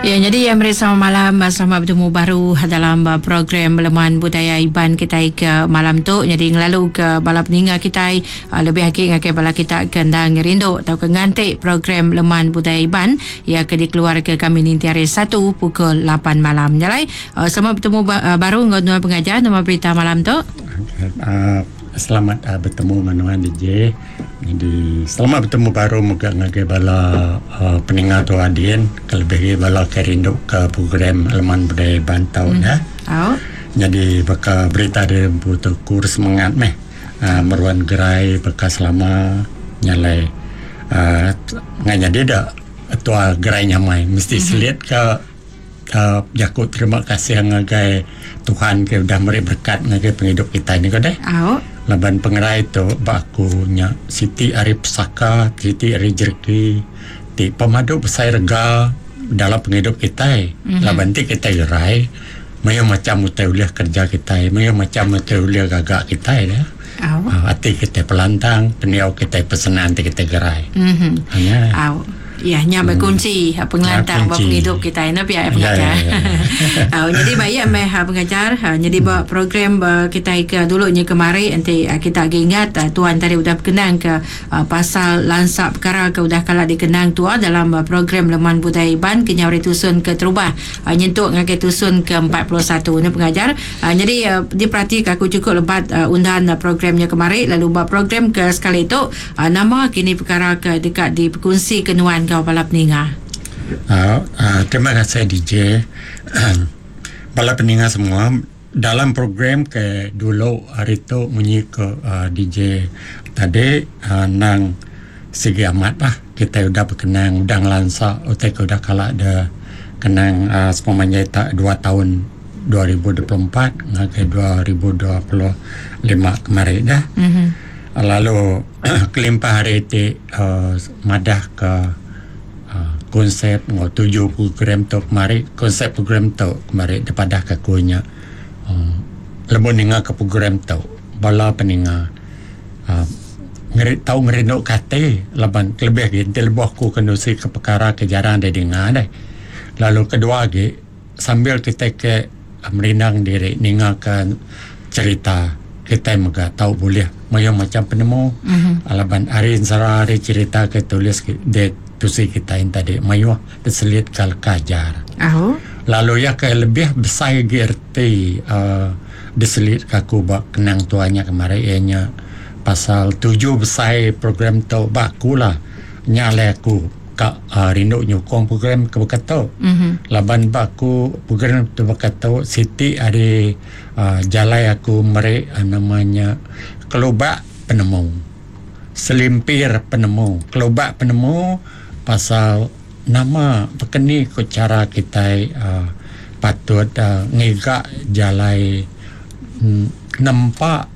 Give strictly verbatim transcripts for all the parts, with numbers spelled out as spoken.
Ya, jadi yang meri selamat malam, selamat bertemu baru dalam uh, program Leman Budaya Iban kita ke malam tu. Jadi ngelalu ke bala peninga kita uh, lebih lagi ngagai bala kita ke endang rindu atau ke nganti program Leman Budaya Iban ya ke dikeluar ke kami ninti hari satu pukul lapan malam. Jalai, uh, selamat bertemu ba- baru dengan tuan pengajar nama berita malam tu. Uh, selamat uh, bertemu dengan nuan D J. Jadi selamat bertemu baru moga ngagai bala uh, peninga tu adin kelebih bala ke rindu ke program Leman Budaya Iban tau mm. ya. Oh. Jadi baka berita dari putu kurs semangat meh uh, meruan gerai baka selama nyalai uh, nganya dia dak tua gerai nyamai mesti mm-hmm. selit ke uh, jakut terima kasih ngagai Tuhan ke udah meri berkat ngagai penghidup kita ni ko deh. Oh. Laban pengerai tu bakunya Siti Ari Pesaka, Siti Ari Jerki, ti pemadu besai rega dalam penghidup kita. Mm-hmm. Laban ti kita gerai, mayu macam utai ulih kerja kita, mayu macam utai ulih gagak kita ya. Oh. Uh, ati kita pelantang, peniau kita pesenan ti kita gerai. Mhm. Mm-hmm. Oh. Ya, nya berkunci hmm. pengelantang ya, penghidup kita ini pihak pengajar. Ya, ya, ya. Uh, jadi baik meh pengajar. Uh, jadi hmm. program uh, kita ke dulunya kemari nanti uh, kita lagi ingat uh, tuan tadi udah berkenang ke uh, pasal lansak perkara ke udah kala dikenang tua dalam uh, program Leman Budaya Iban ke nyauri tusun ke terubah uh, nyentuk ngagai tusun ke empat puluh satu ni pengajar. Uh, jadi uh, diperhatikan aku cukup lebat uh, undan uh, programnya kemari lalu buat program ke sekali itu uh, nama kini perkara ke dekat di perkongsi kenuan kau bala peninga. Uh, uh, terima kasih D J. Bala peninga semua dalam program ke dulu hari tu munyi ke uh, D J tadi uh, nang segi amat lah kita udah berkenang udah ngelansa utai ke udah kalak de kenang uh, sepemanjai tak dua tahun dua ribu dua puluh empat ngagai dua ribu dua puluh lima kemarin dah. Mm-hmm. Lalu kelimpah hari itu uh, madah ke konsep ngau tujuh program tu kemari konsep program tu kemari depadah ke kunya uh, lebu ninga ke program tu bala peninga uh, ngeri tau ngerindu kate laban kelebih gi enti lebuh aku kenusi ke perkara ke jarang dia dengar deh. Lalu kedua lagi sambil kita ke uh, merindang diri ninga ke cerita kita mega tau boleh mayu macam penemu mm-hmm. Laban hari sara hari cerita ke tulis ke, de tusi kita yang tadi mayuh terselit kal kajar. Oh. Lalu ya ke lebih besar gerti uh, diselit kaku bak kenang tuanya kemarin ianya pasal tujuh besar program tu baku lah nyale aku ka uh, rindu nyukong program ke berkata. Mm-hmm. Laban baku program tu berkata Siti ada uh, jalai aku merek uh, namanya kelubak penemu. Selimpir penemu, kelubak penemu pasal nama berkeni ke cara kita uh, patut uh, ngigak jalai mm, nampak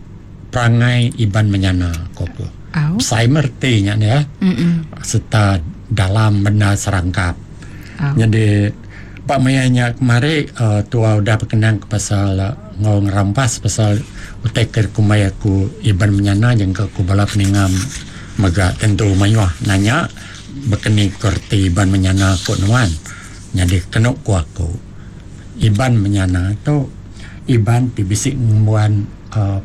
perangai Iban menyana koko. Oh. Saya mertinya ya. Mm-mm. Serta dalam benda serangkap. Oh. Jadi Pak Mayanya kemari uh, tua udah berkenang ke pasal uh, ngau ngerampas pasal utai ke kumai aku Iban menyana yang ke aku bala peningam mega tentu mayuah nanya berkeni kerti Iban menyana aku nuan. Jadi kenuk ku aku Iban menyana tu Iban ti bisik ngembuan uh,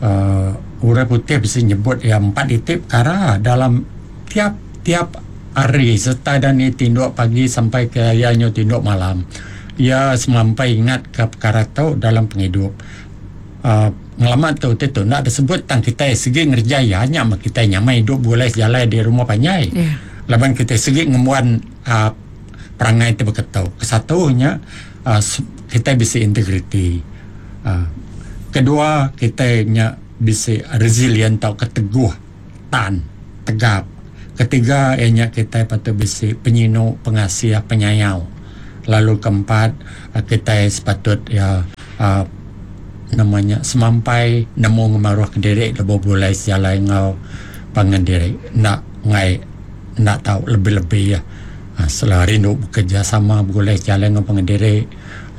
uh, orang putih bisa nyebut ya empat itik perkara dalam tiap-tiap hari serta dan ni tinduk pagi sampai ke ianya tinduk malam. Ia semampai ingat ke perkara tu dalam penghidup. Uh, ngelamat tu tu nak disebut tang kita segi ngerjaya hanya mak kita nyamai hidup boleh jalan di rumah panjai. Yeah. Laban kita segi ngemuan uh, perangai tu berketau. Kesatunya uh, kita bisa integriti. Uh, kedua kita nya bisa resilient atau keteguh, tan, tegap. Ketiga ianya kita patut bisa penyinu, pengasih, penyayau. Lalu keempat kita sepatut ya uh, namanya semampai nemu ngemaruh ke diri lebo boleh jalan ngau pangan diri nak ngai nak tahu lebih-lebih ya. Selari rindu bekerja sama boleh jalan ngau pangan diri.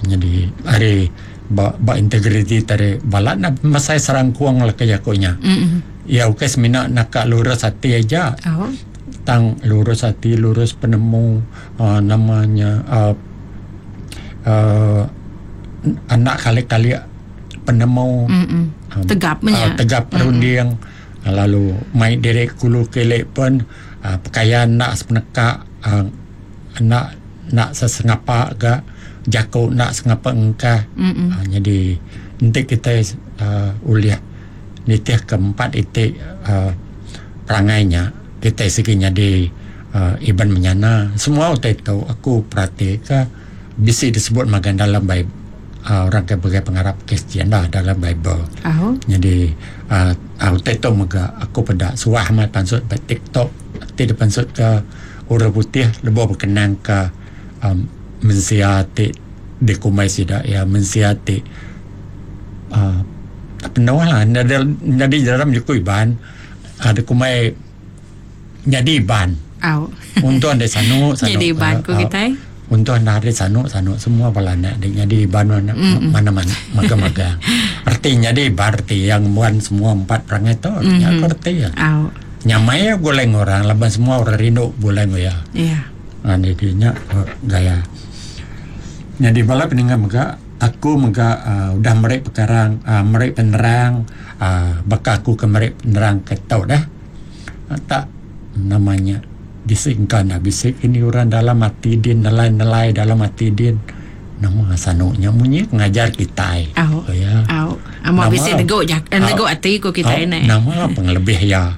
Jadi hari ba, ba integriti tadi balat nak masai serangkuang lah kerja konya. Mm-hmm. Ya okey semina nak lurus hati aja. Oh. Tang lurus hati, lurus penemu, uh, namanya uh, uh, anak kali-kali penemu um, tegap uh, tegap perunding, uh, lalu mai diri kulu kelek pun uh, pakaian nak sepenekak, uh, nak nak sesengapa ga jako nak sengapa engkah. Uh, jadi nanti kita uh, uliah nitih keempat itik uh, perangainya kita segi jadi uh, iban menyana semua utai tu aku perhati ke bisi disebut magan dalam Bible, uh, orang ke bagai pengarap Kristian lah dalam Bible. Oh. Jadi uh, uh, utai tu mega aku pada suah amat pansut ba TikTok ti depansut ke orang putih lebo berkenang ke um, mensia ti dikumai sida ya mensia ti uh, penuh lah jadi dalam juku iban ada kumai jadi iban. Au. Untuk anda sanu sanu. Jadi iban ku kita. Untuk anda hari sanu sanu semua balana dia jadi iban mana mana-mana maga-maga. Artinya jadi iban arti yang buan semua empat perangai tu artinya mm-hmm. Arti ya. Au. Nyamai goleng orang laban semua orang rindu goleng ya. Iya. Yeah. Jadinya gaya. Jadi bala peninggal mega aku mega uh, udah merek perkarang uh, merek penerang uh, bakal aku ke merek penerang ke tau dah. Uh, tak namanya disingkan dah bisik ini orang dalam hati din nelai-nelai dalam hati din nama sanuknya munyi ngajar kita. Au. Oh, ya. Au. Amo bisik teguk jak teguk hati ku kita ini. Nama pengelebih ya.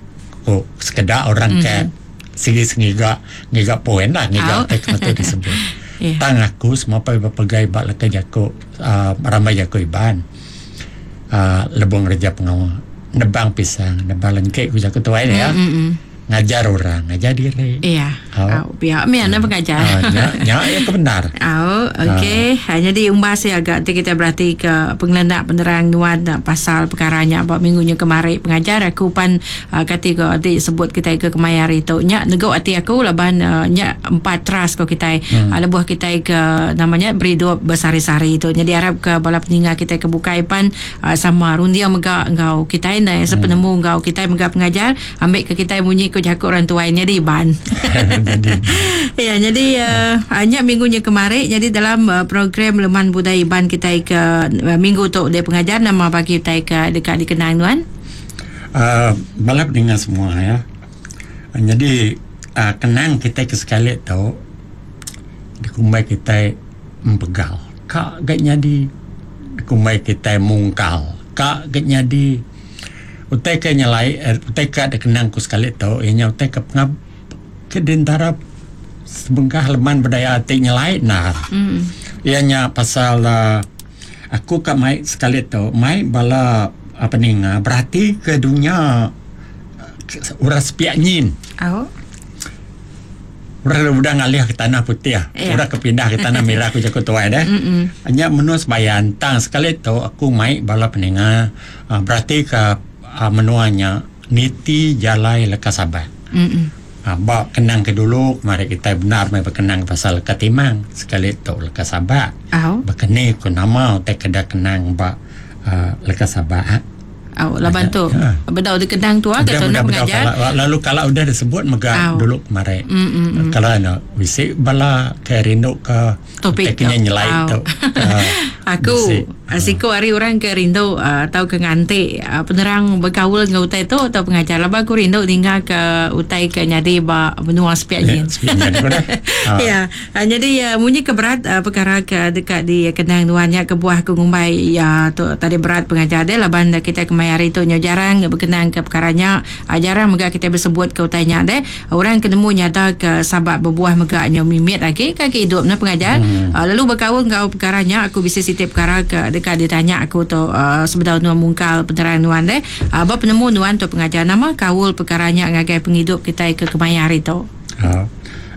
Oh, sekedar orang mm-hmm. ke segi sengiga ngiga poin lah ngiga tek mata disebut. Yeah. Tang aku semua pai berpegai bak leka jako uh, ramai jako iban. Uh, lebong reja pengawal nebang pisang nebang lengkek ku jako tuai ni ya. Mm-hmm. Ngajar orang, ngajar diri. Iya. Oh. Oh, pihak mi ana pengajar. Oh, nya, nya ya kebenar. Oh, okey. Oh. Jadi umbas ya agak nanti kita berarti ke pengelenak penerang nuan pasal perkaranya buat minggunya kemarin pengajar aku pan uh, kati ke adik sebut kita ke kemayar itu. Nya negok hati aku laban uh, nya empat teras ko kita. Hmm. Uh, lebuh kita ke namanya beridup bersari-sari itu. Jadi harap ke bala peninggal kita ke bukai pan uh, sama rundia mega engkau kita ni hmm. sepenemu engkau kita mega pengajar ambil ke kita bunyi ke jakut orang tua ini di ban. Jadi ya, jadi uh, hanya minggunya kemarin jadi dalam uh, program Leman Budaya Iban kita ke uh, minggu tu dia pengajar nama bagi kita ke dekat dikenang tuan. Uh, balap dengan semua ya. Jadi uh, kenang kita ke sekali tu dikumbai kita mempegal. Kak gak nyadi dikumbai kita mungkal. Kak gak nyadi utai ke nyelai, utai ke ada kenang ku sekali tu, ianya utai ke pengab ke dentara sebengkah leman budaya ati nyelai nah. Mm. Ianya pasal uh, aku kat mai sekali tu, mai bala apa ninga berarti ke dunia uras piak nyin. Oh. Udah udah ngalih ke tanah putih, yeah. Udah kepindah ke tanah merah aku jago tuai dah. Hanya menus bayan tang sekali tu aku mai bala peninga uh, berarti ke uh, menuanya niti jalai lekas sabar. Uh, bak kenang ke dulu mari kita benar mai berkenang pasal lekas timang sekali tu lekas sabar. Oh. Berkene ku nama te keda kenang bak uh, lekas sabar. Oh, laban tu. Ya. Bedau dikenang tu ah kata nak pengajar. Kalau, lalu kalau udah disebut mega oh. dulu kemarin. Mm, mm, mm. Kalau nak wisik bala ke rindu ke topik kenya nyelai oh. tu. Uh, aku asiko hari orang ke rindu uh, atau ke ngantik uh, penerang berkaul dengan utai tu atau pengajar. Laban aku rindu tinggal ke utai ke nyadi ba benua sepiak ya, ni. Ya. Uh, jadi uh, munyi ke berat uh, perkara ke dekat di kenang tuannya ke buah ke ngumbai ya tu tadi berat pengajar dia laban kita kemarin hari tu nyo jarang berkenang ke perkaranya jarang mega kita bersebut ke utainya deh orang ketemu nyata ke sahabat berbuah mega nyo mimit lagi kaki hidup na pengajar hmm. uh, lalu berkaul ngau perkaranya aku bisa sitip perkara ke dekat ditanya aku tu uh, sebenar nuan mungkal penerang nuan deh uh, ba penemu nuan tu pengajar nama kaul perkaranya ngagai penghidup kita ke kemaya hari tu uh,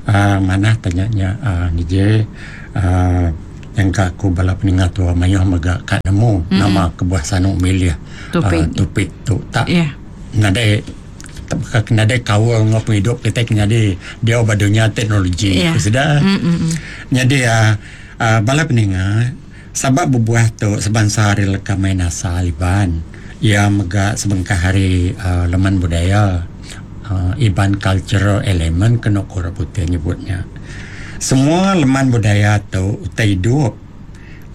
uh, mana tanyanya uh, D J uh, yang ka aku bala peningat tua mayuh mega kat nemu mm-hmm. nama kebuah sanuk milih topik uh, topik tu tak yeah. nadai tak nadai kawal ngop hidup kita kena di dia badunya teknologi yeah. Sudah mm-hmm. Jadi uh, uh, bala peningat sabab berbuah tu sebangsa hari leka main asal iban ia mega sebengkah hari uh, leman budaya uh, Iban cultural element kena orang putih nyebutnya. Semua leman budaya tu utai hidup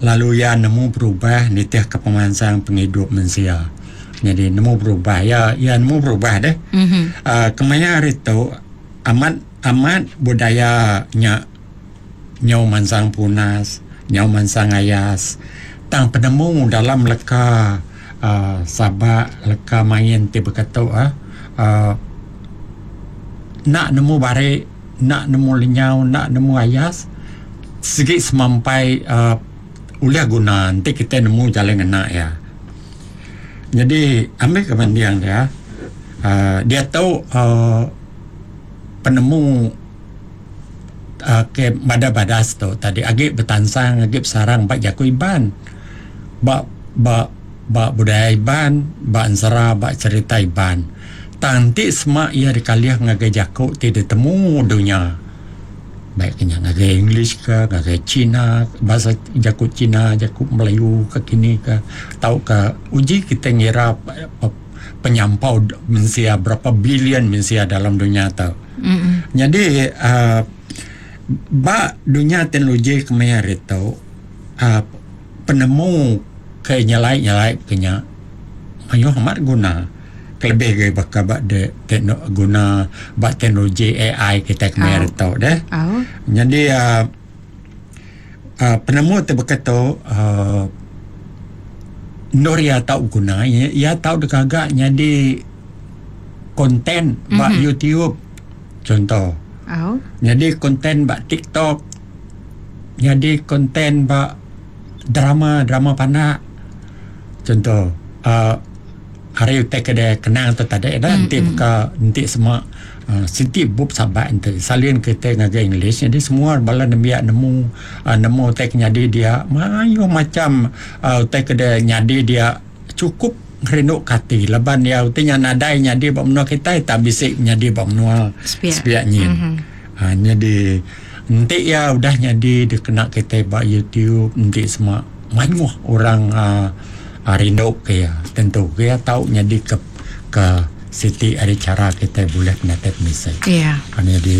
lalu ya nemu berubah nitih ke pemansang penghidup manusia. Jadi nemu berubah ya ya nemu berubah deh. Mm-hmm. Uh, kemaya hari tu amat amat budaya nya nyau mansang punas, nyau mansang ayas. Tang penemu dalam leka uh, sabak leka main ti berkata ah uh, nak nemu bare, nak nemu lenyau, nak nemu ayas segi semampai uh, uliah guna nanti kita nemu jalan ngena ya. Jadi ambil kemandian dia uh, dia tahu uh, penemu uh, ke bada-badas tu tadi agi bertansang agi bersarang bak jaku Iban bak bak bak budaya Iban bak ensera bak cerita Iban tanti semak ia dikaliah ngagai jaku ti ditemu dunia baik kenya ngagai English ke ngagai Cina bahasa jaku Cina jaku Melayu ke kini ke tau ke uji kita ngira penyampau manusia berapa bilion manusia dalam dunia tau. Mm-hmm. Jadi uh, bak dunia teknologi kemaya itu uh, penemu ke nyelai-nyelai kenya mayuh amat guna kelebih ke bakal bak de tekno, guna bak teknologi A I kita kemaya itu deh. Oh. Jadi uh, uh, penemu tu berkata uh, nur ya tahu guna ya, ya tahu dekagak jadi konten bak mm-hmm. YouTube contoh. Oh. Jadi konten bak TikTok, jadi konten bak drama drama panak contoh. Uh, hari utai ke kenang tu tadi dah nanti mm-hmm. buka nanti semua uh, siti bub sabat nanti salin kita ngagai English jadi semua bala nembiak nemu uh, nemu utai ke nyadi dia mayu macam uh, utai ke nyadi dia cukup rindu kati laban dia utai nya nadai nyadi ba menua kita tak bisik nyadi ba menua sepiak nyin. Mm-hmm. Uh, jadi nanti ya udah nyadi dia kena kita ba YouTube nanti semua mayuh orang uh, rindu ke ya tentu ke ya tahu nyadi ke ke siti ada cara kita boleh penatep misai. Iya. Yeah. Jadi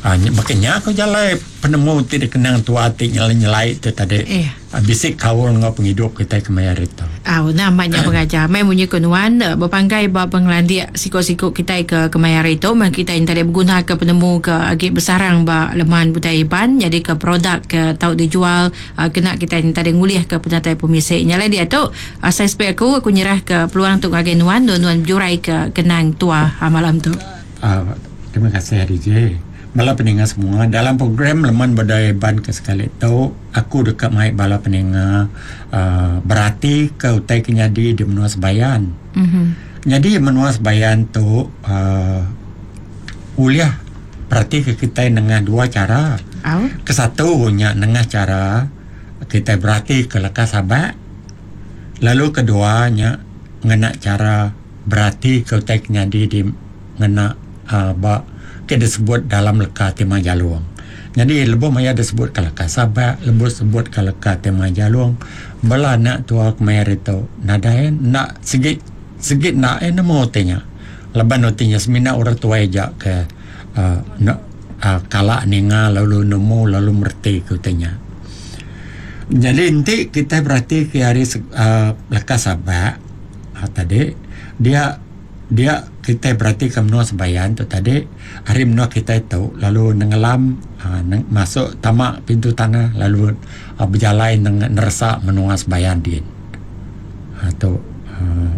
uh, makanya aku jalai penemu ti dikenang tua ti nyelai-nyelai tu tadi. Iya. Uh, bisik kaul ngau penghidup kita kemaya itu. Ah, namanya pengajar. Mai munyi kenuan berpanggai ba penglandik sikok-sikok kita ke kemaya itu, mai kita yang tadi berguna ke penemu ke agi bersarang ba leman budaya Iban jadi ke produk ke tau dijual uh, kena kita yang tadi ngulih ke penatai pemisik. Nyalai dia tu uh, saya spek aku aku nyerah ke peluang tu ngagai nuan nuan jurai ke kenang tua uh, malam tu. Uh, terima kasih D J. Bala peninga semua dalam program Leman Budaya Iban ke sekali tu aku dekat mai bala peninga uh, berarti ke utai ke nyadi di menua Sebayan. Mm-hmm. Jadi menua Sebayan tu uh, uliah berarti ke kita nengah dua cara. Oh. Kesatu nya nengah cara kita berarti ke leka sabak. Lalu kedua nya ngena cara berarti ke utai ke nyadi di ngena uh, ba ke disebut dalam leka tema jalung. Jadi lebuh maya disebut ke leka sabak, lebuh sebut ke leka tema jalung, bala anak tua kemaya itu nadai nak segit segit nak eh nemu tenya. Laban otinya semina orang tua aja ke uh, nak uh, kalak ninga lalu nemu lalu merti ke tenya. Jadi nanti kita berarti ke hari uh, leka sabak uh, tadi dia dia kita berarti ke menua Sebayan tu tadi hari menua kita itu lalu nenggelam uh, neng, masuk tamak pintu tanah lalu uh, berjalan neng, neresak menua Sebayan din. Ha tu uh,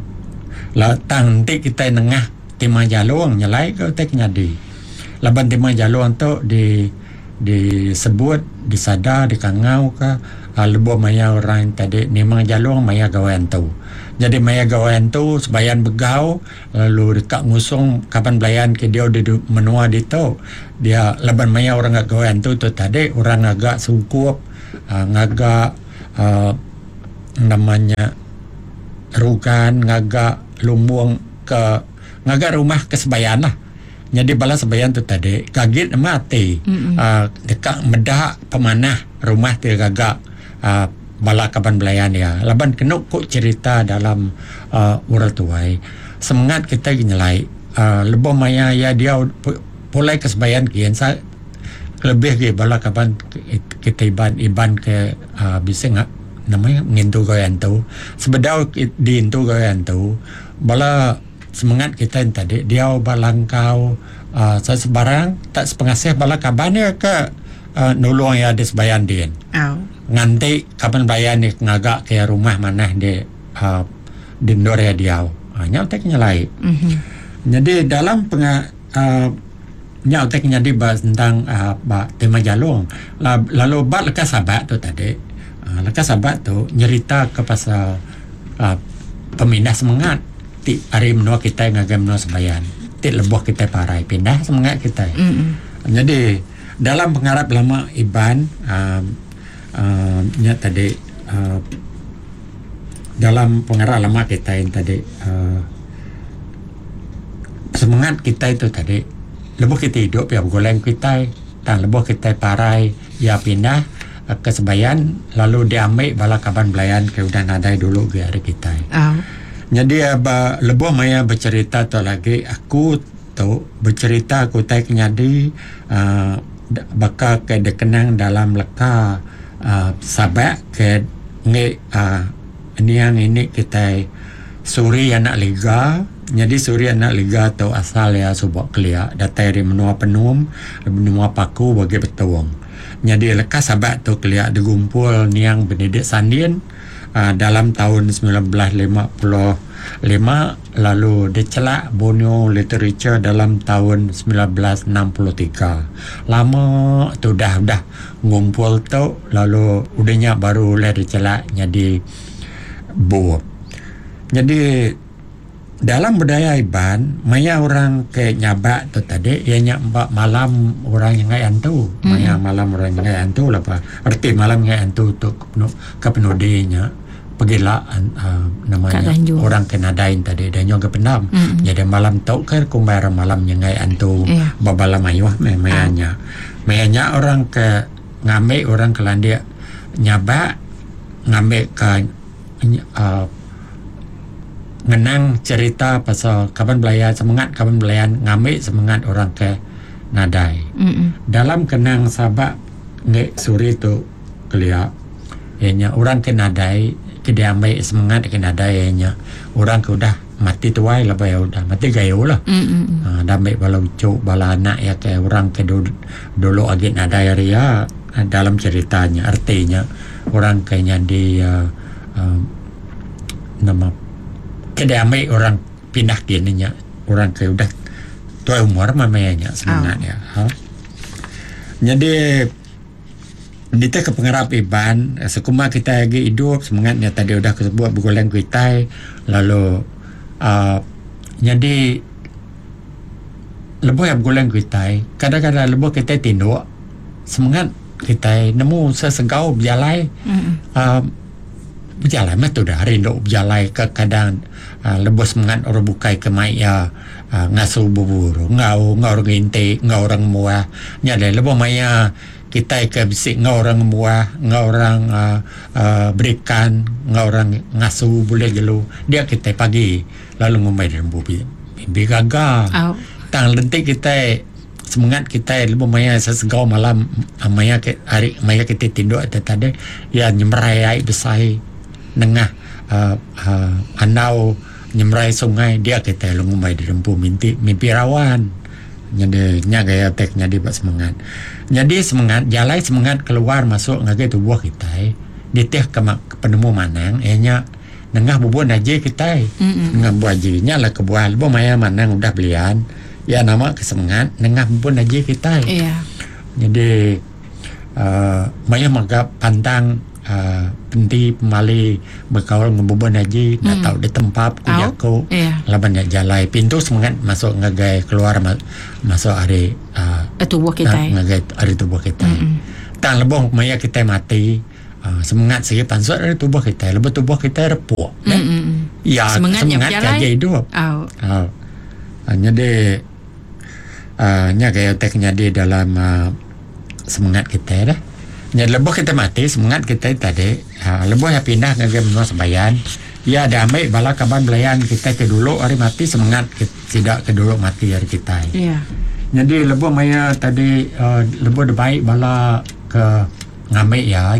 la tang nanti kita nengah tema jalung nyelai ke utai nyadi. Laban tema jalung tu di disebut disadar dikangau ke uh, lebuh maya orang tadi memang jalung maya gawan tu. Jadi maya gawan tu Sebayan begau lalu dekat ngusung kapan belayan ke dia di menua di tu dia laban maya orang agak gawan tu tu tadi orang agak sungkup uh, ngagak uh, namanya rugan ngagak lumbung ke ngagak rumah ke Sebayan lah. Jadi bala Sebayan tu tadi kaget mati uh, dekat medak pemanah rumah tu gagak uh, bala kaban belayan ya. Laban kena kok cerita dalam uh, orang tuai semangat kita nyelai uh, lebuh maya ya dia pulai ke sebayan kian sa lebih ke bala kaban kita iban iban ke uh, bisa ngak namanya ngintu gaya tu sebedau diintu gaya tu bala semangat kita yang tadi dia balangkau uh, sebarang tak sepengasih bala kaban dia ke uh, nulung ya di sebayan dia. Oh. Nganti kaban bayan ni ngagak ke rumah mana di uh, di ndor ya dia. Ha nya utai nyelai. Mm-hmm. Jadi dalam penga uh, nya utai nyadi bahas tentang uh, ba tema jalung. Lalu bak lekas sabat tu tadi. Uh, lekas sabat tu nyerita ke pasal uh, pemindah semangat ti hari menua kita ngagai menua sebayan. Ti lebuh kita parai pindah semangat kita. Mm-hmm. Jadi dalam pengarap lama Iban uh, uh, nya tadi uh, dalam pengarap lama kita yang tadi uh, semangat kita itu tadi lebuh kita hidup ya bergoleng kita tang lebuh kita parai ya pindah uh, ke sebayan lalu diambil bala kaban belayan ke udah nadai dulu ke hari kita. Oh. Jadi uh, lebuh maya bercerita tu lagi aku tu bercerita aku tai kenyadi uh, bakal ke dikenang dalam leka uh, sabak ke nge uh, niang ini kita Suri anak Liga. Jadi Suri anak Liga tu asal ya subak kelia datai dari menua Penum menua Paku bagi Betuang. Jadi leka sabak tu kelia digumpul niang Benedict Sandin uh, dalam tahun sembilan belas lima puluh lima lalu dicelak Borneo Literature dalam tahun sembilan belas enam puluh tiga. Lama tu dah dah ngumpul tu lalu udahnya baru boleh dicelak jadi bup. Jadi dalam budaya Iban maya orang ke nyabak tu tadi ianya mbak malam orang yang ngai antu. Maya Mm-hmm. malam orang yang ngai antu lah apa. Erti malam ngai antu tu ke penudinya pergilah uh, namanya orang ke nadain tadi dan yang ke pendam. Mm-hmm. Jadi malam tu ke kumbar malam yang ngai antu yeah. Babala mayuh mayanya. Ah. Mayanya orang ke ngambil orang ke landia nyabak ngambil ke uh, ngenang cerita pasal kaban belayan semangat kaban belayan ngambil semangat orang ke nadai. Mm-hmm. Dalam kenang sabak nge suri tu kelia ianya orang ke nadai ke diambil semangat ke nadai ianya orang ke udah mati tuai lah ya udah mati gayo lah. Mm-hmm. Ha, dah ambil bala ucuk bala anak ya ke orang ke dulu, dulu agak nadai ria dalam ceritanya artinya orang ke nyadi uh, uh, nama ke diambil orang pindah kininya orang ke udah tua umur mamanya semangat Oh. ya. Ha? Jadi Dita ke pengarap Iban sekuma kita lagi hidup semangatnya tadi udah kesebut bergoleng kuitai lalu uh, jadi lebuh yang bergoleng kuitai kadang-kadang lebuh kita tinduk semangat kita nemu sesegau berjalai Mm-hmm. uh, berjalai mah tu dah rindu berjalai ke kadang uh, lebuh semangat orang bukai ke mai ya uh, ngasu bubur ngau ngau orang ngintik ngau orang muah nya ada lebuh maya kita ke bisik ngau orang muah ngau orang uh, uh, berikan ngau orang ngasu boleh gelu dia kita pagi lalu ngumai lembu mimpi gaga Oh. tang lentik kita semangat kita lebuh maya sesegau malam maya ke hari maya kita tinduk atau tadi ya nyemerai air besar nengah uh, uh, anau nyemerai sungai dia kita lengumai di lembu mimpi mimpi rawan jadi nya gaya tek nyadi buat semangat jadi semangat jalai semangat keluar masuk ngagai tubuh kita ditih ke, ke penemu manang ianya nengah bubun aja kita Mm-mm. nengah buah aja nya lah kebuah lebuh maya manang udah belian ya nama kesemangat nengah bubun aja kita Iya. jadi uh, maya maga pantang uh, penti pemali berkaul ngebubun haji mm. nak tahu di tempat ku Au. jaku Iya. laban nak jalai pintu semangat masuk ngagai keluar ma- masuk hari uh, Tubuh kita. ngagai hari tubuh kita. Mm-mm. Tang lebih maya kita mati uh, semangat segi pansut dari tubuh kita lebih tubuh kita repuk. Mm, Eh? mm, mm. Ya Semangatnya semangat berjalai. kaja hidup. Au. Ha. Uh, jadi uh, nya gaya tek nyadi dalam uh, semangat kita dah. Nya lebuh kita mati semangat kita tadi uh, lebuh yang pindah ke menua sebayan Ya ada ambil bala kaban belayan kita ke dulu hari mati semangat ke, tidak ke dulu mati hari kita. Ya. Jadi lebuh maya tadi uh, lebuh baik bala ke ngambil ya.